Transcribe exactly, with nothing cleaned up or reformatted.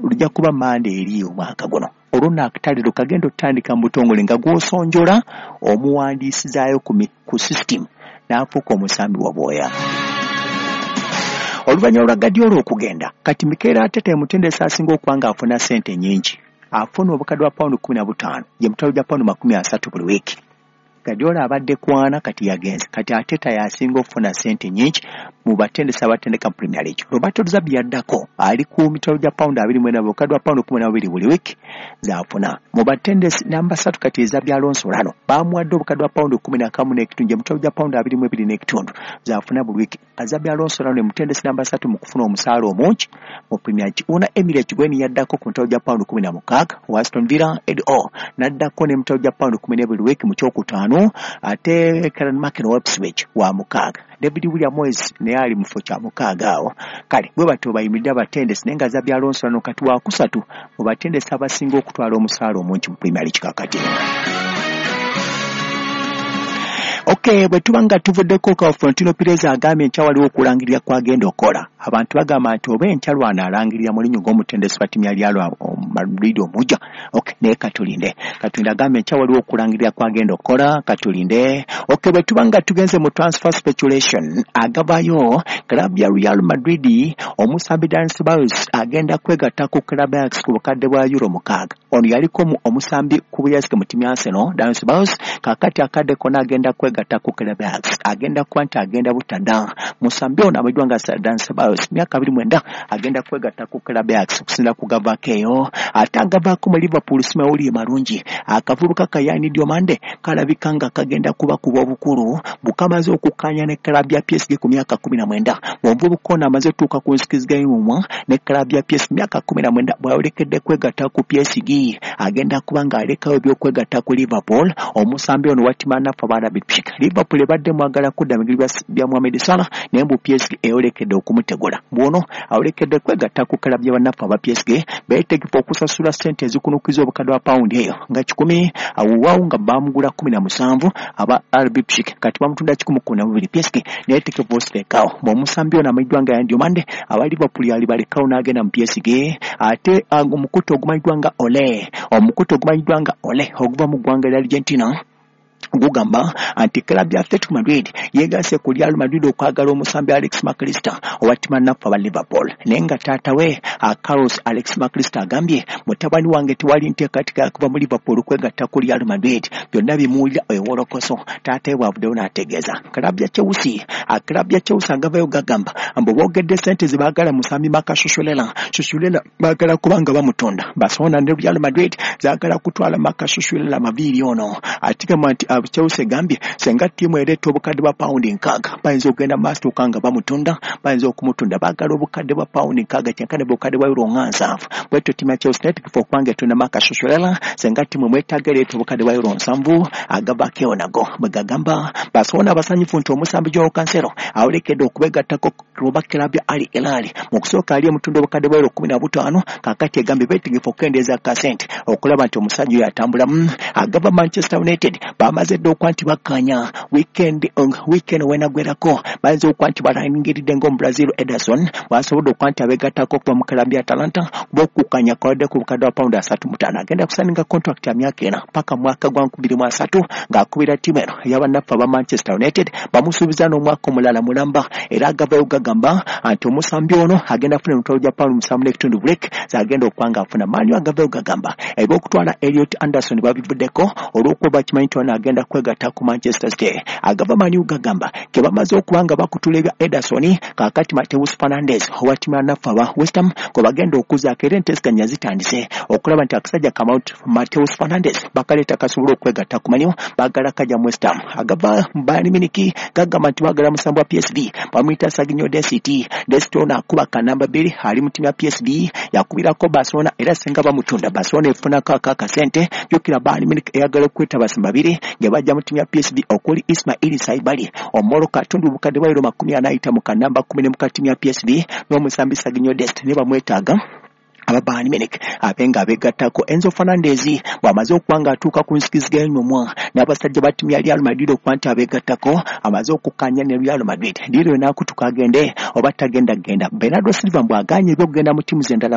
lujja kuba Mande eri omwaka guno. Olwo nno akatale kagenda otandika mu butongole nga gw'osonjola omuwandiisizaayo ku system n'afuuka omusambi wa bwoya. Oluvannyuma lwa Guardiola okugenda, kati Mikel Arteta emutendesi asinga okuba ng'afuna ssente nnyingi, afuna obukadde bwa pawundi kkumi na butaano, ye mutwalo gwa pawundi makumi asatu buli wiiki. Guardiola abadde kwana, kati yagenze. Kati Arteta y'asinga okufuna ssente nnyingi mu batendesi abatendeka mu Premier League. Roberto De Zerbi yaddako, ali ku mitwalo gya pawundi abiri mu ena, obukadde bwa pawundi kkumi na bubiri buli wiiki z'afuna. Mu batendesi namba ssatu kati Xabi Alonso lano bamuwadde obukadde bwa pawundi kkumi na kamu n'ekitundu, emitwalo gya pawundi abiri mu ebiri n'ekitundu z'afuna buli wiiki. Xabi Alonso lano ye mutendesi namba ssatu mu kufuna omusaala omungi mu Premier League. Unai Emery Ekigweni yaddako ku mitwalo gya pawundi kkumi na mukaaga, wa Aston Villa Eddie Howe n'addako n'emitwalo gya pawundi kkumi n'ebiri wiiki mu kyokutaano, ate Kieran McKenna wa Ipswich wa mukaaga. David William Moyes naye ali mu kifo kya mukaaga awo. Kale bwe batyo bayimiridde abatendesi, naye nga Xabi Alonso lano kati wakusatu mu batendesi abasinga okutwala omusaala omungi mu Premier League kakati. Okay, bwe tuba nga tuvuddeko ka Florentino Perez agambye enkya waliwo okulangirira kw'agenda okukola. Abantu bagamba nti oba enkya lwana alangirira Mourinho ng'omutendesi wa ttiimu ya Real Madrid omujja. Okay, naye katulinde. Katulinde agambye enkya waliwo okulangirira kw'agenda okukola, katulinde. Okay, bwe tuba nga tugenze mu transfer speculation, agabayo club ya Real Madrid omusambi Dani Ceballos agenda kwegatta ku club ya Ajax ku bukadde bwa euro mukaaga. Ono yaliko omusambi ku buyazike mu ttiimu ya Arsenal, Dani Ceballos, kaakati akadde konna agenda kwegatta ku club ya Ajax. Agenda kuba nti agenda butada. Musambi ono amanyiddwa nga Dani Ceballos, myaka abiri mwenda, agenda kwegatta ku club ya Ajax okusinziira ku gavaako eyo. Ate agavaako mu Liverpool si mawulire malungi. Akavubuka ka Yan Diomande kalabika nga kagenda kubakuba obukulu, bukamaze okukkaanya ne club ya P S G ku myaka kkumi na mwenda. Omuvubuka ono amaze otuuka ku nsikiziganya mumwa ne club ya P S G myaka kkumi na mwenda, bw'ayolekedde kwegatta ku P S G agenda kuba ng'alekawo eby'okwegatta ku Liverpool. Omusambi ono wa ttiimu ya naffe aba Leipzig. Liverpool ebadde mwagala kudda mu bigere bya Mohamed Salah, naye mbu P S G eyolekedde okumutegula. Bw'ono ayolekedde kwegatta ku club ya bannaffe aba P S G, beetegefu okusasula ssente ezikunukiza obukadde bwa pawundi eyo nga kikumi, awuwaawo nga baamugula kkumi na musanvu aba R B Leipzig, kati bamutunda kikumi kkumi na bubiri. P S G neetegefu osirekawo. Bw'omusambi ono amanyiddwa nga Yan Diomande aba Liverpool yalibalekawo n'agenda mu P S G. Ate omukutu ogumanyiddwa nga Ole, omukutu ogumanyiddwa nga Ole oguva mu ggwanga lya Argentina gugamba nti club ya Atletico Madrid yeegase ku Real Madrid okwagala omusambi Alex McAllister owa ttiimu naffe aba Liverpool. Naye nga taata we Carlos Alex McAllister agambye mutabani wange tewali nteekateeka ya kuva mu Liverpool kwegatta ku Real Madrid, byonna bimuwulira ewolokoso. Taata we bw'avuddeyo n'ategeeza club ya Chelsea, club ya Chelsea agavayo gagamba mbu boogedde ssente ze baagala musambi Marcus Cucurella. Cucurella baagala kubanga bamutunda. Barcelona ne Real Madrid zaagala kutwala Marcus Cucurella maviiri ono. Atigamba nti Chelsea egambye senga ttiimu ereeta obukadde bwa pawundi nkaaga bayinza okugenda mu maaso tuuka nga bamutunda, bayinza okumutunda. Baagala obukadde bwa pawundi nkaaga kyenkana obukadde bwa euro nga nsanvu. Bwetyo ttiimu ya Chelsea neetegefu okubanga etunda Marcus Cucurella senga ttiimu emwetaaga ereeta obukadde bwa euro nsanvu. Agavaako eyo nago bwe gagamba Barcelona abasanyufu nti omusambi Joao Cancelo awolekedde okubegattako oba club ya Al Hilal. Mu kusooka ali emutunda obukadde bwa euro kkumi na butaano, kaakati egambye beetegefu okukendeeza kasente okulaba nti omusajja oyo atambulamu. Agava Manchester United bamaze dda okuba nti bakkaanya weekend weekend wenagwerako bayinza okuba nti balangiridde ng'Omubrazil Ederson bw'asobodde okuba nti abeegattako okuva mu club ya Atalanta kuba okukkaanya kwawadde ku bukadde bwa pawundi asatu mu ttaano. Agenda kusaninga contract ya myaka ena paka mwaka gwa nkumi bbiri mu asatu ng'akubira ttiimu eno ey'abannaffe aba Manchester United. Bamusuubiza n'omwaka omulala mulamba, era agavayo gagamba nti omusambi ono agenda afuna emitwalo gya pawundi musanvu n'ekitundu break z'agenda okuba ng'afuna. Man U agavayo gagamba eby'okutwala Elliot Anderson babivuddeko olw'okuba bakimanyi nti ono agenda kwegatta ku Manchester City. Agava Man U gagamba ke bamaze okuba nga bakutula ebya Ederson, kaakati Mateus Fernandes owa ttiimu ya naffe aba West Ham gwe bagenda okuzaako, era enteeseganya zitandise okulaba nti akasajja ka Mateus Fernandes bakaleeta kasobole okwegatta ku Man U, baagala kajja mu West Ham. Agava Bayern Munich gagamba nti baagala musambi wa P S V bamuyita Serginho Dest. Dest ono akuba kanamba bbiri ali mu ttiimu ya P S V, yakubirako Barcelona era singa bamutunda Barcelona efunako akakasente. Jjukira Bayern Munich eyagala okweta abasumba babiri nga bajja mu ttiimu ya P S V okuli Ismail Saibali Omoroka atundu obukadde bwa euro makumi ana ayita mu kanamba kkumi n'emu ka ttiimu ya P S V n'omusambi Serginho Dest ne bamwetaaga aba Bayern Munich abe nga abeegattako. Enzo Fernandez bw'amaze okuba ng'atuuka ku nsikiziganya omwa n'abasajja ba ttiimu ya Real Madrid okuba nti abeegattako, amaze okukkaanya ne Real Madrid. Diiro n'akutuka agende oba tagenda kugenda. Bernardo Silva bw'agaanye eby'okugenda mu ttiimu z'endala mu